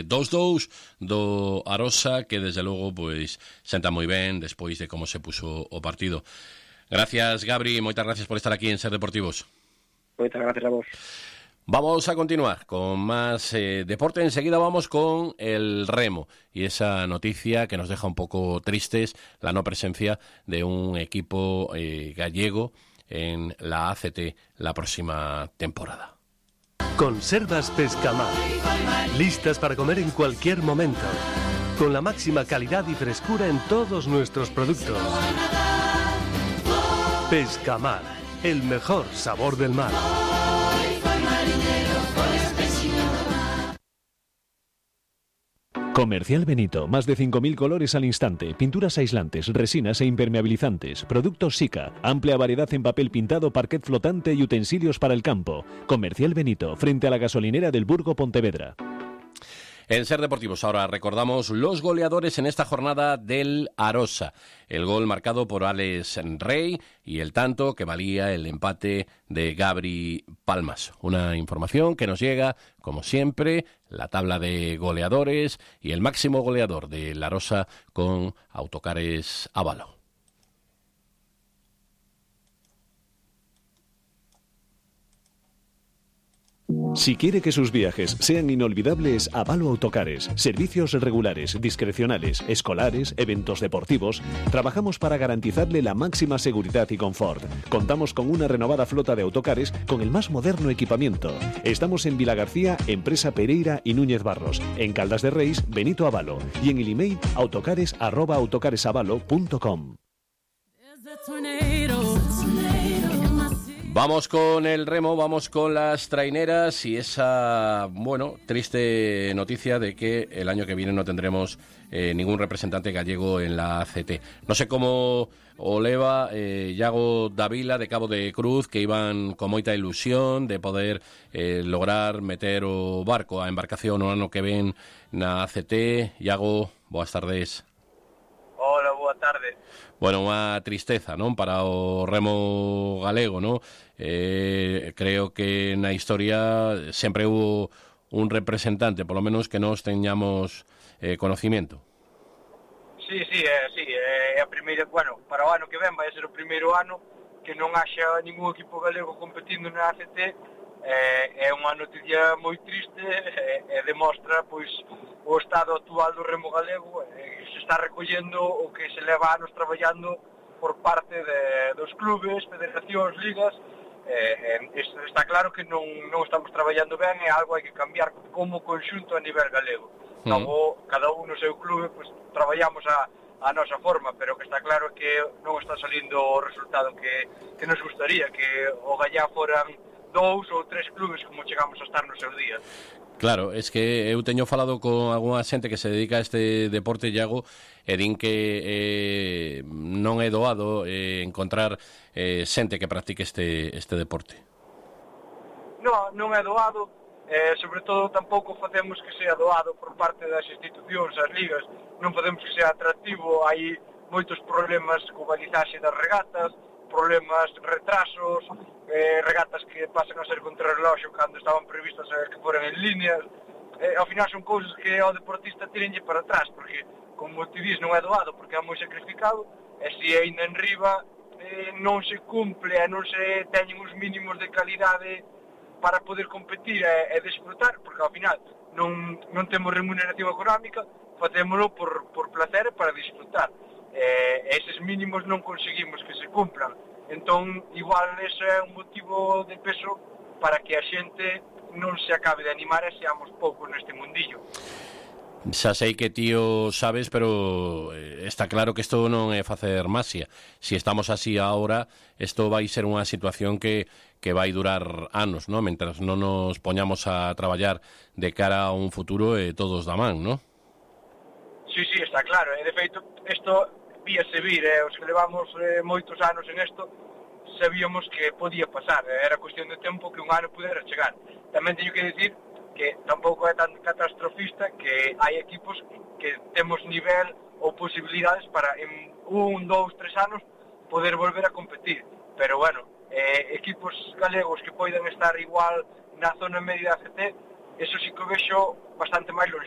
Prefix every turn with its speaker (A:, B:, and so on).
A: 2-2 do Arosa, que desde logo pois senta moi ben despois de como se puso o partido. Gracias, Gabri, moitas gracias por estar aquí en Ser Deportivos.
B: Moitas gracias a vos.
A: Vamos a continuar con más deporte. Enseguida vamos con el remo y esa noticia que nos deja un poco tristes, la no presencia de un equipo gallego en la ACT la próxima temporada.
C: Conservas Pescamar, listas para comer en cualquier momento, con la máxima calidad y frescura en todos nuestros productos. Pescamar, el mejor sabor del mar.
D: Comercial Benito, más de 5.000 colores al instante, pinturas aislantes, resinas e impermeabilizantes, productos Sika, amplia variedad en papel pintado, parquet flotante y utensilios para el campo. Comercial Benito, frente a la gasolinera del Burgo Pontevedra.
A: En Ser Deportivos ahora recordamos los goleadores en esta jornada del Arosa. El gol marcado por Alex Rey y el tanto que valía el empate de Gabri Palmas. Una información que nos llega, como siempre, la tabla de goleadores y el máximo goleador del Arosa con Autocares Avalo.
D: Si quiere que sus viajes sean inolvidables, Avalo Autocares. Servicios regulares, discrecionales, escolares, eventos deportivos. Trabajamos para garantizarle la máxima seguridad y confort. Contamos con una renovada flota de autocares con el más moderno equipamiento. Estamos en Vilagarcía, Empresa Pereira y Núñez Barros. En Caldas de Reis, Benito Avalo. Y en el email autocares@autocaresavalo.com.
A: Vamos con el remo, vamos con las traineras y esa, triste noticia de que el año que viene no tendremos ningún representante gallego en la ACT. No sé cómo o leva Iago Davila de Cabo de Cruz, que iban con moita ilusión de poder lograr meter o barco, a embarcación o ano que ven na ACT. Iago, boas tardes.
E: Hola, boa tarde.
A: Bueno, unha tristeza, non, para o remo galego, non? Creo que na historia sempre hubo un representante, polo menos que nós teñamos conocimiento.
E: Sí, é a primeira, para o ano que ven vai ser o primeiro ano que non haxa ningún equipo galego competindo na ACT. É unha noticia moi triste e demostra pois o estado actual do remo galego. Se está recollendo o que se leva anos traballando por parte dos clubes, federacións, ligas. Está claro que non estamos traballando ben, é algo hai que cambiar como conxunto a nivel galego. Logo, cada un no seu clube pois traballamos a nosa forma, pero que está claro que non está salindo o resultado que nos gustaría, que o Gallá foran 2 ou 3 clubes como chegamos a estar no seu día.
A: Claro, es que eu teño falado con algunha xente que se dedica a este deporte, Iago, e din que non é doado encontrar xente que practique este deporte.
E: Non é doado, sobre todo tampouco facemos que sea doado por parte das institucións, as ligas, non facemos que sea atractivo, hai moitos problemas co balizaxe das regatas, problemas, retrasos, regatas que pasan a ser contra reloxo cando estaban previstas que foran en líneas. Ao final son cousas que ao deportista tirenlle para atrás, porque, como te dis, non é doado, porque é moi sacrificado, e se ainda en riba non se cumple e non se teñen os mínimos de calidade para poder competir e desfrutar, porque ao final non temos remuneración económica, facémolo por placer e para disfrutar. Eses mínimos non conseguimos que se cumplan. Entón, igual ese é un motivo de peso para que a xente non se acabe de animar e seamos poucos neste mundillo.
A: Xa sei que ti o sabes, pero está claro que isto non é facer masia. Si estamos así ahora, isto vai ser unha situación que vai durar anos, ¿no? Mentras non nos poñamos a traballar de cara a un futuro todos da man, ¿no?
E: Sí, está claro. De feito, isto víase vir, os que levamos moitos anos en isto, sabíamos que podía pasar, era cuestión de tempo que un ano pudera chegar. Tamén teño que dicir que tampouco é tan catastrofista, que hai equipos que temos nivel ou posibilidades para en 1, 2, 3 anos poder volver a competir. Pero equipos galegos que poidan estar igual na zona media da ACT, eso sí que o vexo bastante máis